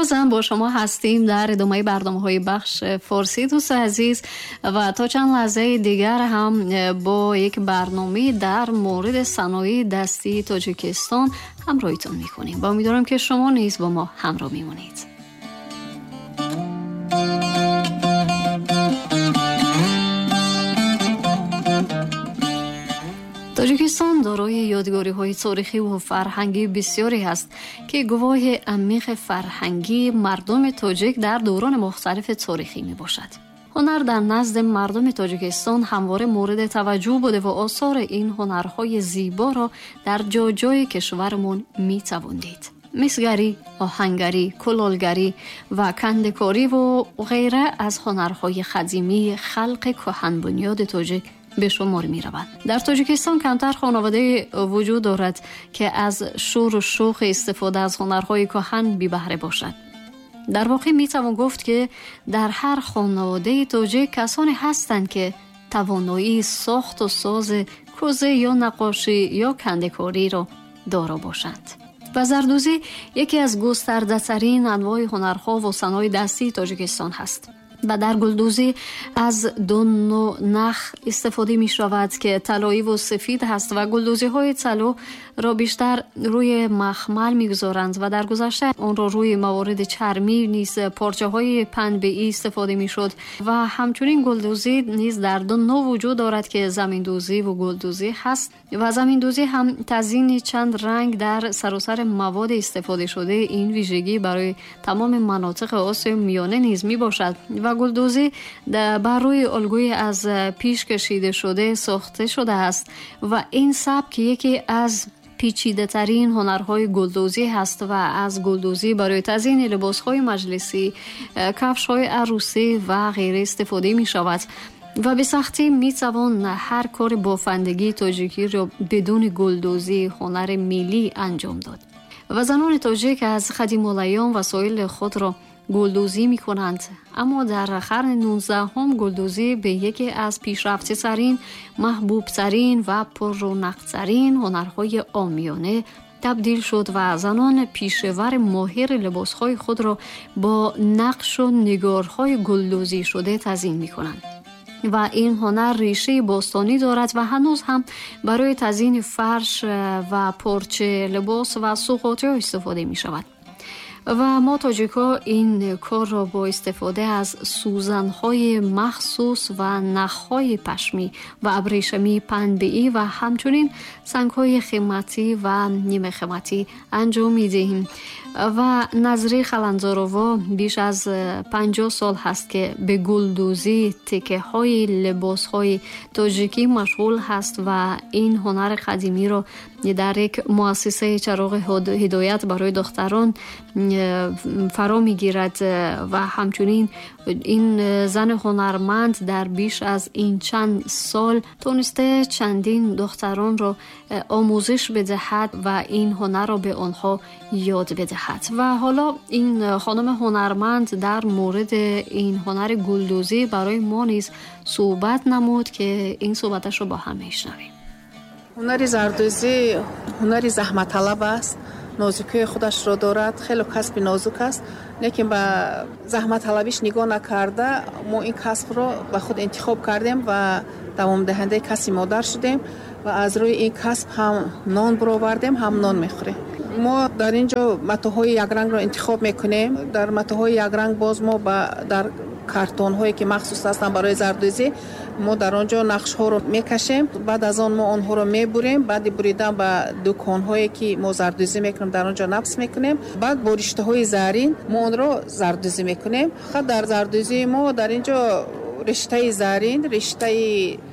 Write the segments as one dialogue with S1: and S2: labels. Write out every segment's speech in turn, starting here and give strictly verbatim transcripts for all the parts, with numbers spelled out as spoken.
S1: بازم با شما هستیم در ادامه برنامه‌های بخش فارسی دوست عزیز و تا چند لحظه دیگر هم با یک برنامه در مورد صنایع دستی تاجیکستان همراهیتون می‌کنیم و امیدوارم که شما نیز با ما همراه میمونید. тоҷикистон дорои ёдгориҳои таърихӣ ва фарҳангии бисёре ҳаст, ки гувоҳи амиқи фарҳангии мардуми тоҷик дар даврони мухталифи таърихӣ мебошад. ҳунар дар назди мардуми тоҷикистон ҳамвора мавриди таваҷҷӯҳ буда ва осори ин ҳунарҳои зеборо дар ҷоҷои кишварамон метавон дид. мисгарӣ, оҳангарӣ, кулолгарӣ ва кандакорӣ ва ғайра аз ҳунарҳои қадимии халқи кӯҳанбунёди тоҷик به شمار می روند. در تاجیکستان کمتر خانواده وجود دارد که از شور و شوق استفاده از هنرهای کهن بی بهره باشد. در واقع می توان گفت که در هر خانواده تاجیک کسانی هستند که توانایی ساخت و ساز کوزه یا نقاشی یا کنده‌کاری را دارا باشند. و زردوزی یکی از گسترده‌ترین انواع هنرها و صنایع دستی تاجیکستان هست. و در گلدوزی از دو نوع نخ استفاده می شود که طلایی و سفید هست و گلدوزی های طلا را بیشتر روی مخمل می گذارند و در گذشته آن را روی موارد چرمی نیز پارچه های پنبه‌ای استفاده می شد و همچنین گلدوزی نیز در دو نوع وجود دارد که زمین دوزی و گلدوزی هست و زمین دوزی هم تزیین چند رنگ در سراسر مواد استفاده شده این ویژگی برای تمام مناطق آسیای میانه نیز می باشد و گلدوزی بر روی الگوی از پیش کشیده شده ساخته شده است و این سبک یکی از پیچیده ترین هنرهای گلدوزی هست و از گلدوزی برای تزیین لباسهای مجلسی، کفش‌های عروسی و غیره استفاده می شود و به سختی می توان هر کار بافندگی تاجیکی را بدون گلدوزی هنر ملی انجام داد و زنان تاجیک از قدیم الایام وسایل خود را گلدوزی می کنند. اما در قرن نوزدهم گلدوزی به یکی از پیشرفته ترین، محبوب ترین و پررونق ترین هنرهای عامیانه تبدیل شد و زنان پیشور ماهر لباسهای خود را با نقش و نگارهای گلدوزی شده تزیین می کنند. و این هنر ریشه باستانی دارد و هنوز هم برای تزیین فرش و پارچه لباس و سوغاتی استفاده می شود. و ما تاجیک‌ها این کار را با استفاده از سوزن‌های مخصوص و نخ‌های پشمی و ابریشمی پنبه‌ای و همچنین سنگ‌های قیمتی و نیمه قیمتی انجام می‌دهیم. و نظری خلنزارووا بیش از پنجاه سال هست که به گلدوزی تکه‌های لباس‌های تاجیکی مشغول هست و این هنر قدیمی را در یک مؤسسه چراغ هدایت برای دختران فرا می‌گیرد و همچنین این زن هنرمند در بیش از این چند سال تونسته چندین دختران را آموزش بدهد و این هنر را به آنها یاد بدهد. و حالا این خانم هنرمند در مورد این هنر گلدوزی برای ما نیز صحبت نمود که این صحبتش رو با هم میشنویم.
S2: هنر زردوزی هنر زحمت طلب است، نازکی خودش را دارد، خیلی کسب نازک است، لیکن به زحمت طلبیش نگاه نکرده ما این کسب را به خود انتخاب کردیم و دوام دهنده کسی مادر شدیم و از روی این کسب هم نان برآوردیم هم نان میخوریم. ما در اینجا متاهای یک رنگ را انتخاب میکنیم. در متاهای یک رنگ باز ما با در کارتون هایی که مخصوص هستند برای زردوزی ما در آنجا نقش ها رو میکشیم، بعد از آن ما آنها رو میبریم، بعد بریدن به دکان هایی که ما زردوزی میکنیم در آنجا نقش میکنیم، بعد با رشته های زرین ما آن رو زردوزی میکنیم. خب در زردوزی ما در اینجا رشته زرین، رشته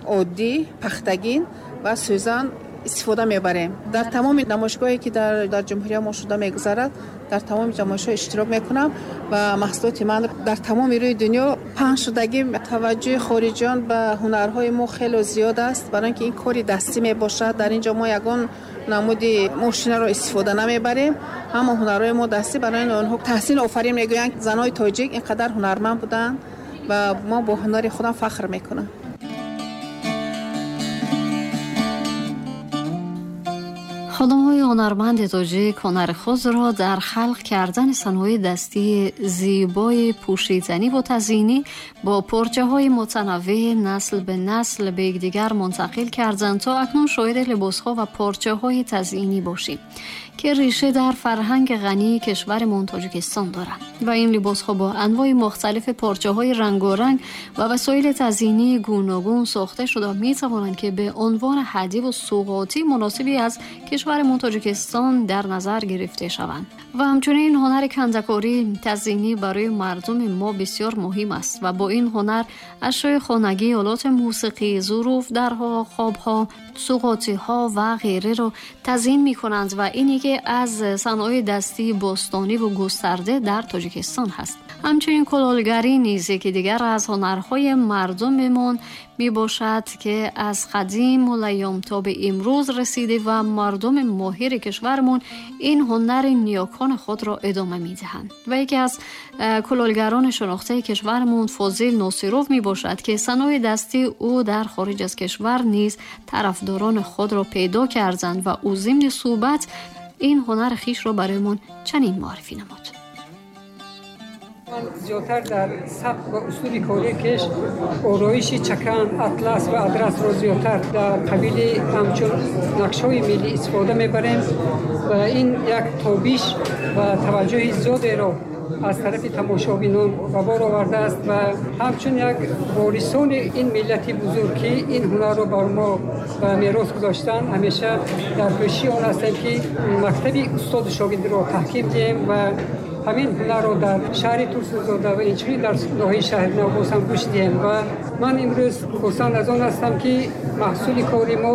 S2: عادی، پختگین و سوزن استفاده میبریم. در تمام نمایشگاهی که در در جمهوری ما شده میگذرد در تمام نمایش‌ها اشتراک میکنم و محصولات من در تمام روی دنیا پهن شدگی. توجه خارجیان به هنرهای ما خیلی زیاد است، برای اینکه این کاری دستی میباشد. در اینجا ما یگان نمود ماشین را استفاده نمیبریم، همه هنرهای ما دستی. برای آنها تحسین آفرین میگویند زنای تاجیک اینقدر هنرمند بودند و ما با هنر خودم فخر میکنم.
S1: Хонумҳои ҳунарманди тоҷик ҳунари худро дар халқ кардани санъои дастии зебои пӯшиданӣ ва тазйинӣ бо порчаҳои мутанаввеъ насл ба насл ба якдигар мунтақил карданд то акнун шоҳиди либосҳо ва порчаҳои тазйинӣ бошем ки реша дар фарҳанги ғании кишварамон Тоҷикистон дорад ва ин либосҳо бо анвои мухталифи порчаҳои рангоранг ва васоили тазйинии гуногун сохта шуда метавонанд ки ба унвони ҳадия ва суғотии муносибе аз кишварамон Тоҷикистон дар назар гирифта шаванд. Ва ҳамчунин ҳунари кандакорӣ тазйинӣ барои мардуми мо бисёр муҳим аст ва бо ин ҳунар ашёи хонагӣ, олоти мусиқӣ, зуруф, дарҳо, қобҳо, суғотиҳо ва ғайраро тазйин мекунанд ва ин яке аз санъои дастии бостонӣ ва густарда дар Тоҷикистон ҳаст. Ҳамчунин кулолгарӣ низ яке дигар аз ҳунарҳои мардумамон мебошад ки аз қадим улайём то ба имрӯз расида ва мардуми моҳири кишварамон ин ҳунари ниёкони худро идома медиҳанд. Ва яке аз кулолгарони шинохтаи кишварамон Фозил Носиров мебошад ки санъои дастии ӯ дар хориҷ аз кишвар низ тарафдорони худро пайдо карданд ва ӯ зимни суҳбат ин ҳунари хишро бароямон чунин муаррифӣ намуд.
S3: Ман зиёдтар дар сабк ва услуби кории кеш ороиши чакан, атлас ва адрасро зиёдтар дар қабили ҳамчун нақшҳои миллӣ истифода мебарем ва ин як тобиш ва таваҷҷӯҳи зиёдеро аз тарафи тамошобинон ба бор овардааст ва ҳамчун як ворисони ин миллати бузург ки ин ҳунарро бар мо ба мерос гузоштанд, ҳамеша дар кӯшиши он ҳастем ки мактаби устоду шогирдро таҳким диҳем ва ҳамин ҳунарро дар шаҳри Турсунзода ва инчунин дар ноҳияи Шаҳринав боз ҳам гӯш диҳем. Ва ман имрӯз хурсанд аз он ҳастам ки маҳсули кори мо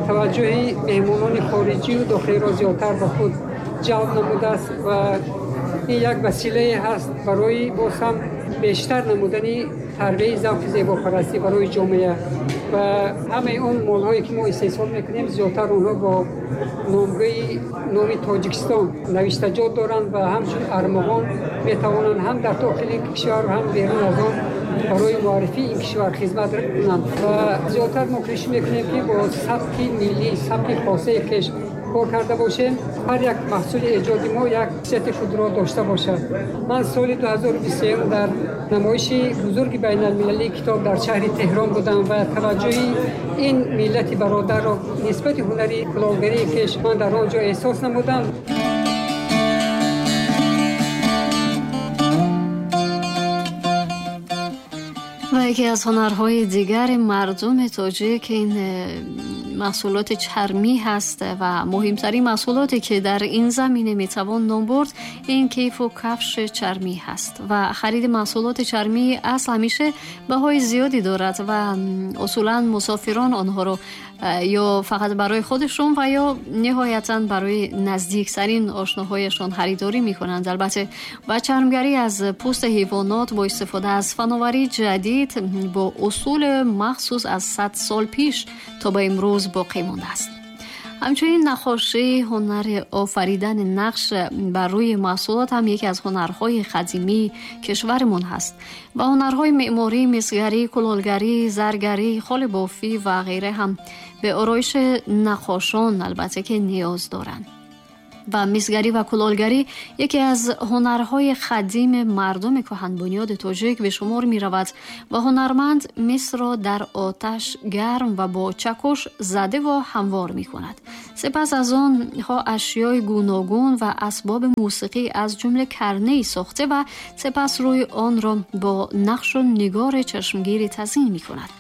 S3: таваҷҷӯҳи меҳмонони хориҷию дохилиро зиёдтар ба худ ҷалб намудааст ва ин як василае ҳаст барои боз ҳам бештар намудани тарбияи завқи зебопарастӣ барои ҷомеа ва ҳамаи он молҳое ки мо истеҳсол мекунем зиёдтар онҳо бо номгӯи номи Тоҷикистон навиштаҷот доранд ва ҳамчун армуғон метавонанд ҳам дар дохили кишвар ҳам берун аз он барои муаррифии ин кишвар хизмат кунанд. Ва зиёдтар мо кӯшиш мекунем ки бо сабки миллӣ, сабки хосаи хеш кор карда бошем, ҳар як маҳсули эҷоди мо як хусусияти худро дошта бошад. Ман соли ду ҳазору бисту сеюм дар намоиши бузурги байналмилалии китоб дар шаҳри Теҳрон будам ва таваҷҷӯҳи ин миллати бародарро нисбати ҳунари кулолгарии хеш ман дар он ҷо эҳсос намудам.
S1: Ва яке аз ҳунарҳои дигари мардуми тоҷик ин маҳсулоти чармӣ ҳаст ва муҳимтарин маҳсулоте ки дар ин замина метавон ном бурд ин кифу кафши чармӣ ҳаст ва хариди маҳсулоти чармӣ асл ҳамеша баҳои зиёде дорад ва усулан мусофирон онҳоро ё фақат барои худашон ва ё ниҳоятан барои наздиктарин ошноҳояшон харидорӣ мекунанд. Албатта ва чармгарӣ аз пӯсти ҳайвонот бо истифода аз фановарии ҷадид бо усули махсус аз сад сол пеш то ба имрӯз боқӣ мондааст. Ҳамчунин наққошӣ, ҳунари офаридани нақш бар рӯи маҳсулот ҳам яке аз ҳунарҳои қадимии кишварамон ҳаст ва ҳунарҳои меъморӣ, мисгарӣ, кулолгарӣ, заргарӣ, холибофӣ ва ғайра ҳам ба ороиши наққошон албатта ки ниёз доранд. Ва мисгарӣ ва кулолгарӣ яке аз ҳунарҳои қадими мардуми кӯҳанбунёди тоҷик ба шумор меравад ва ҳунарманд мисро дар оташ гарм ва бо чакуш зада ва ҳамвор мекунад. Сипас аз онҳо ашёи гуногун ва асбоби мусиқӣ аз ҷумла карней сохта ва сипас рӯи онро бо нақшу нигори чашмгири тазйин мекунад.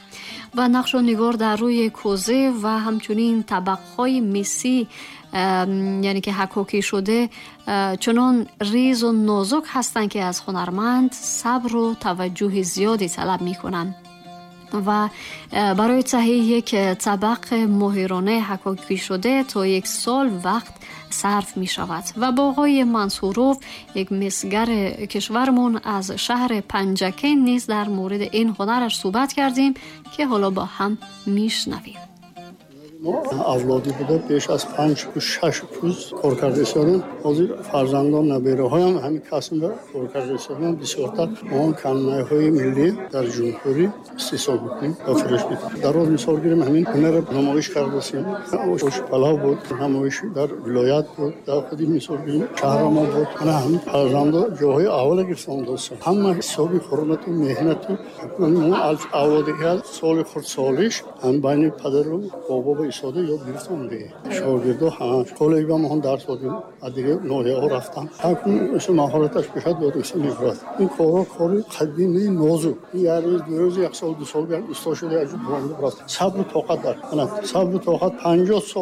S1: Ва нақшу нигор дар рӯи кӯза ва ҳамчунин табақҳои мисӣ, яъне ки ҳакокӣ шуда, чунон ризу нозук ҳастанд ки аз ҳунарманд сабру таваҷҷӯҳи зиёде талаб мекунанд. Ва барои таҳияи як табақ моҳирона ҳакокӣ шуда то як сол вақт сарф мешавад. Ва бо оғои Мансуров, як мисгари кишвармон аз шаҳри Панҷакент низ дар мавриди ин ҳунараш суҳбат кардем ки ҳоло бо ҳам мешнавем.
S4: Мо авлодӣ буда, беш аз панҷ шаш рӯз кор карда истодем. Ҳозир фарзандон, набераҳоям ҳамин касбро кор карда истодем. Бисёртар мо каннайҳои миллӣ дар ҷумҳурӣ истеҳсол мекунем ва фурӯш мекунем. Дар роз мисол гирем, ҳамин ҳунарро намоиш кардасем. Палав буд, намоиш дар вилоят буд, дар худи мисол гирем шаҳра мо буд. Ана ҳамин фарзандо ҷоҳои аввала гирифта омадастанд. Ҳама ҳисоби ҳурмату меҳнату мо авлоди соли хурдсолиш ҳам байни падару бобо ба истода ёд гирифта омадем. Шогирдо коллеҷ ба мо дарс додем, аз дигар ноҳияҳо рафтан. Ҳар кун маҳораташ бошад, ёд гирифта мебурад. Ин корҳо кори қадимаи нозук. Ин як рӯз, ду рӯз, як сол, ду сол як усто шуда як ҷо буронда рафт. Сабру тоқат дар. Ана сабру тоқат панҷоҳ сол.